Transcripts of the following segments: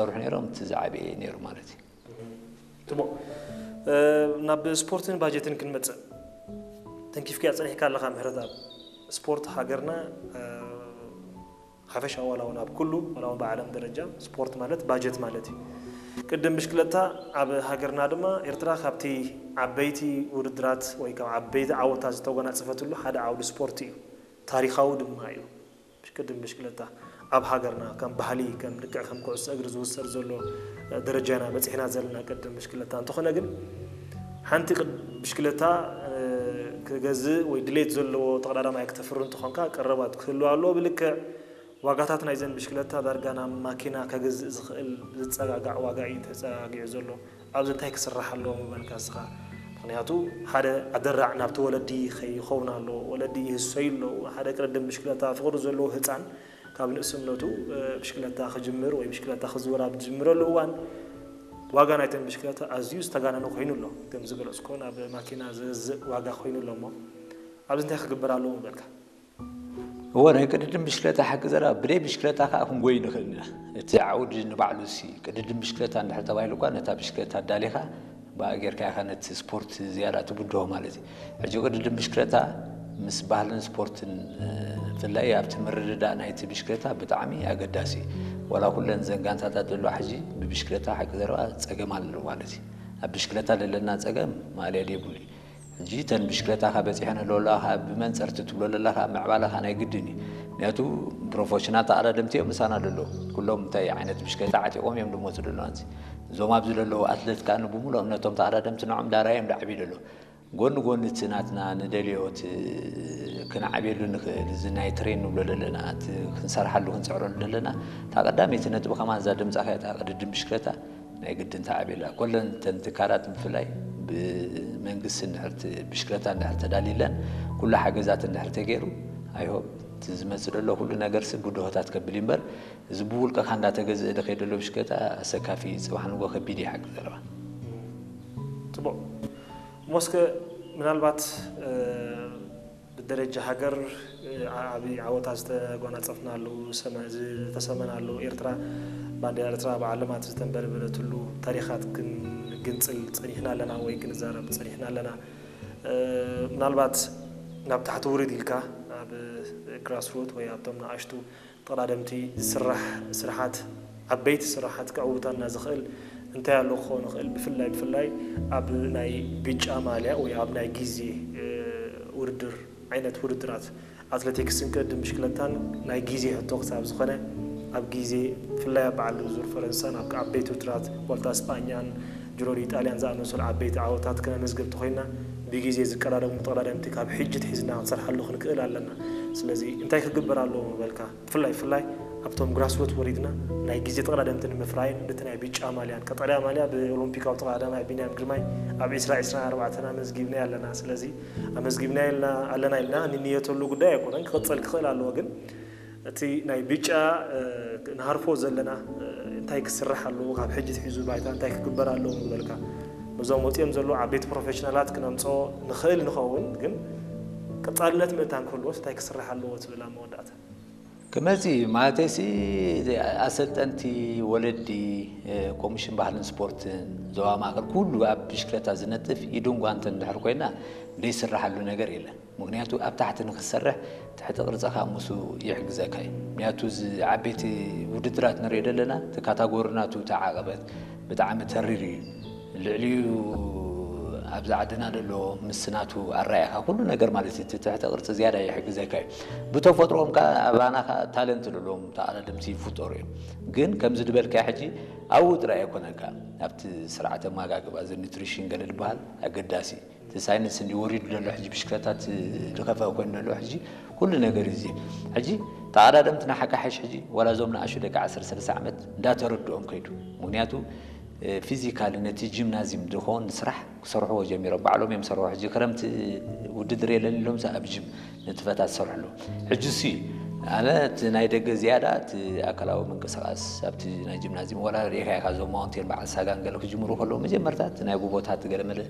ዝሰርሑ ነይሮም፣ እቲ ዝዓበየ ነይሩ ማለት እዩ። ጽቡቕ። ናብ ስፖርትን ባጀትን ክንመጽእ፣ ተንኪፍካያ ጸኒሕካ ኣለኻ ምሕረትኣብ። ስፖርት ሃገርና ሓፈሻ ዋላ እውን ኣብ ኩሉ ዋላ እውን ብዓለም ደረጃ ስፖርት ማለት ባጀት ማለት እዩ። ቅድም ብሽክለታ ኣብ ሃገርና ድማ ኤርትራ ካብቲ ዓበይቲ ውድድራት ወይ ካብ ዓበይቲ ዓወታት ዝተጎናጸፈትሉ ሓደ ዓውዲ ስፖርት እዩ። ታሪኻዊ ድማ እዩ። ቅድም ብሽክለታ ኣብ ሃገርና ከም ባህሊ ከም ልክዕ ከም ኩዕሶ እግሪ ዝውሰድ ዘሎ ደረጃ ኢና በጺሕና ዘለና ቅድም ብሽክለታ። እንተኾነ ግን ሓንቲ ብሽክለታ ክገዝእ ወይ ድሌት ዘለዎ ተቐዳዳማይ ክተፍሪ እንተኾንካ ቀረባት ክህሉ ኣለዎ። ብልክዕ ዋጋታት ናይዘን ብሽክለታ ዳርጋ ናብ ማኪና ከገዝእ ዝኽእል ዝጸጋጋዕ ዋጋ እዩ ተጸጋጊዑ ዘሎ። ኣብዚ እንታይ ክስራሕ ኣለዎ ምበልካ እስኻ? ምክንያቱ ሓደ ኣደራዕ ናብቲ ወለዲ ከይኸውን ኣለዎ። ወለዲ ይህሰዩ ኣለዉ። ሓደ ቅድድም ብሽክለታ ፍቕሪ ዘለዎ ህፃን ካብ ንእስነቱ ብሽክለታ ክጅምር ወይ ብሽክለታ ክዝውር ኣብ ዝጅምረሉ እዋን ዋጋ ናይተን ብሽክለታ ኣዝዩ ዝተጋነነ ኮይኑ ኣሎ። ከም ዝገለፅኮ ናብ ማኪና ዝገዝእ ዋጋ ኮይኑ ኣሎ። እሞ ኣብዚ እንታይ ክግበር ኣለዎ ምበልካ? እወ፣ ናይ ቅድድም ብሽክለታ ሓቂ ዘረባ፣ ብደይ ብሽክለታ ከዓ ክንጎይ ንኽእል ኢና። እቲ ዓውዲ ንባዕሉ ሲ ቅድድም ብሽክለታ እንድሕር ተባሂሉ እኳ ነታ ብሽክለታ ኣዳሊኻ ብኣ ጌርካ ኢኻ ነቲ ስፖርት ዝያዳ ትብድሆ ማለት እዩ። ሕጂ ቅድድም ብሽክለታ ምስ ባህልን ስፖርትን ብፍላይ ኣብቲ ምርድዳእ ናይቲ ብሽክለታ ብጣዕሚ ኣገዳሲ እዩ። ዋላ ኩለን ዘን ጋንታታት ዘለዋ ሕጂ ብብሽክለታ ሓቂ ዘረባ ፀገም ኣለዎ ማለት እዩ። ኣብ ብሽክለታ ዘለና ፀገም ማእለያ የብሉ እዩ። ሕጂ እተን ብሽክለታኻ በፂሐን ኣለዋ ብመንፀርቲ ትብሎ ዘለኻ ምዕባለኻ ናይ ግድን እዩ። ምክንያቱ ፕሮፌሽናል ተቐዳደምቲ እዮም ምሳና ዘለዉ። ኩሎም እንታይ ዓይነት ብሽክለታ ዓጢቖም እዮም ዝመፁ ዘለዉ። እዞም ኣብዚ ዘለዉ ኣትለት ከዓ ብሙሉእ እምነቶም ተቐዳደምቲ ንዖም ዳርያ እዮም ዝዓብዩ ዘለዉ። ጎኒ ጎኒ እቲ ናትና ንደልዮ እቲ ክንዓብየሉ ንኽእል እዚ ናይ ትሬን ንብሎ ዘለና እቲ ክንሰርሓሉ ክንፅዕረሉ ዘለና እታ ቀዳመይቲ ነጥቢ ከማን እዛ ድምፃ እያ እታ ቅድድም ብሽክለታ ናይ ግድን ተዓብየላ። ኮለን እተን ትካላት ብፍላይ ብመንግስቲ እንድሕር ት- ብሽክለታ እንድሕር ተዳልይለን ኩሉ ሓገዛት እንድሕር ተገይሩ ኣይሆብ እቲ ዝመፅእ ዘሎ ኩሉ ነገር ሲ ብድሆታት ከብል እዩ እምበር እዚ ብውልቅኻ እንዳተገዝእ ዝኸይድ ዘሎ ብሽክለታ ኣሰካፊ እዩ። ፅባሕ ንጎ ከቢድ እዩ ሓቂ ዘረባ። ፅቡቕ። እሞ እስከ ምናልባት ብደረጃ ሃገር ዓብዪ ዓወታት ዝተጎናፀፍናሉ ዝተሰመናሉ ኤርትራ ባንዴራ ኤርትራ ብዓለማት ዝተንበለበለትሉ ታሪኻት ክንግንፅል ፀኒሕና ኣለና ወይ ክንዛረብ ፀኒሕና ኣለና። ምናልባት ናብ ታሕቲ ውርድ ኢልካ ኣብ ግራስሩት ወይ ኣብቶም ንኣሽቱ ተቐዳደምቲ ዝስራሕ ስራሓት ዓበይቲ ስራሓት ከዕውተና ዝኽእል እንታይ ኣሎ ክኸውን ይኽእል? ብፍላይ ብፍላይ ኣብ ናይ ብጫ ማልያ ወይ ኣብ ናይ ግዜ ውድድር ዓይነት ውድድራት ኣትሌቲክስን ቅድድም ብሽክለታን ናይ ግዜ ሕቶ ክሳብ ዝኾነ ኣብ ግዜ ብፍላይ ኣብ በዓል ዙር ፈረንሳን ኣብ ዓበይቲ ውድድራት ዋልታ ስጳኛን ጅሮ ዲጣልያን ዝኣመሰሉ ዓበይቲ ዓወታት ክነመዝግብ እንተኾይንና ብግዜ ዝቀዳደሙ ተቐዳደምቲ ካብ ሕጂ ትሒዝና ክንሰርሓሉ ክንክእል ኣለና። ስለዚ እንታይ ክግበር ኣለዎ ምበልካ? ብፍላይ ብፍላይ ኣብቶም ግራስሩት ወሪድና ናይ ግዜ ተቐዳደምቲ ንምፍራይን ነቲ ናይ ብጫ ማልያን ቀጠልያ ማልያ ብኦሎምፒካዊ ተቐዳዳማይ ቢንያም ግርማይ ኣብ ዒስራ ዒስራን ኣርባዕተን ኣመዝጊብናዮ ኣለና። ስለዚ ኣመዝጊብናዮ ኣለና ኢልና ንንየተሉ ጉዳይ ኣይኮነን፣ ክቕጽል ክኽእል ኣለዎ። ግን እቲ ናይ ብጫ ንሃርፎ ዘለና እንታይ ክስራሕ ኣለዎ፣ ካብ ሕጂ ትሒዙ ባይታ እንታይ ክግበር ኣለዎ ምበልካ? ነዞም ወፂኦም ዘለዉ ዓበይቲ ፕሮፌሽናላት ክነምፅኦ ንኽእል ንኸውን፣ ግን ቀፃልነት ምእንታን ክህልዎስ እንታይ ክስራሕ ኣለዎ ትብል ኣብ መወዳእታ? ክመፅእ እዩ ማለተይሲ ኣሰልጠንቲ ወለዲ ኮሚሽን ባህልን ስፖርትን ዞባ ማእከል ኩሉ ኣብ ብሽክለታ ዝነጥፍ ኢዱን ጓንትን እንድሕር ኮይና ዘይስራሓሉ ነገር የለን። ምክንያቱ ኣብ ታሕቲ ንክትሰርሕ ትሕቲ ቅርፅኻ ምስኡ ይሕግዘካ እዩ። ምክንያቱ እዚ ዓበይቲ ውድድራት ንሪኦ ዘለና እቲ ካታጎሪ ናቱ ተዓቐበት ብጣዕሚ ተሪር እዩ። ልዕሊኡ ኣብዚ ዓድና ዘሎ ምስ ናቱ ኣረኣእኻ ኩሉ ነገር ማለት እዩ። እቲ ትሕተ ቅርፂ ዝያዳ ይሕግዘካ እዩ። ብተፈጥሮኦም ከዓ ኣባና ከዓ ታለንት ዘለዎም ተቐዳደምቲ ይፍጠሩ እዮም። ግን ከምዚ ዝበልካዮ ሕጂ ኣብኡ ጥራይ ኣይኮነን ከዓ ኣብቲ ስርዓተ ኣመጋግባ እዚ ኒትሪሽን ገለ ዝበሃል ኣገዳሲ እዩ። እቲ ሳይንስ እንዲ ወሪዱ ዘሎ ሕጂ ብሽክለታት ዝኸፈአ ኮይኑ ዘሎ ሕጂ ኩሉ ነገር እዩ እዚ። ሕጂ ተቐዳደምትና ሓካሕሽ ሕጂ ዋላ እዞም ንኣሹ ደቂ ዓሰርተ ሰለስተ ዓመት እንዳተረድኦም ከይዱ። ምክንያቱ ፊዚካሊ ነቲ ጂምናዚም ዝኸውን ስራሕ ክሰርሕዎ ጀሚሮም። ባዕሎም እዮም ዝሰርሑ። ሕጂ ክረምቲ ውድድር የለን ኢሎም ኣብ ጂም ንጥፈታት ዝሰርሑ ኣለዉ። ሕጂ እሱ እዩ። ኣነ እቲ ናይ ደገ ዝያዳ እቲ ኣካላዊ ምንቅስቃስ ኣብቲ ናይ ጂምናዚም ዋላ ርኢኻ ኢኻ እዞም ማውንቴን በዓል ሳጋን ገለ ክጅምሩ ከለዉ መጀመርታ እቲ ናይ ጎቦታት ገለ መለ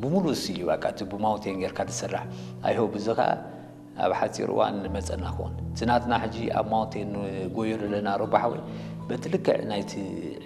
ብምሉእ እሱ እዩ። በቃ እቲ ብማውንቴን ጌርካ ዝስራሕ ኣይሆ ብዚ ኸዓ ኣብ ሓፂር እዋን ንመፀና ክኾን እቲ ናትና ሕጂ ኣብ ማውንቴን ንጎዮ ዘለና ረባሓወይ በቲ ልክዕ ናይቲ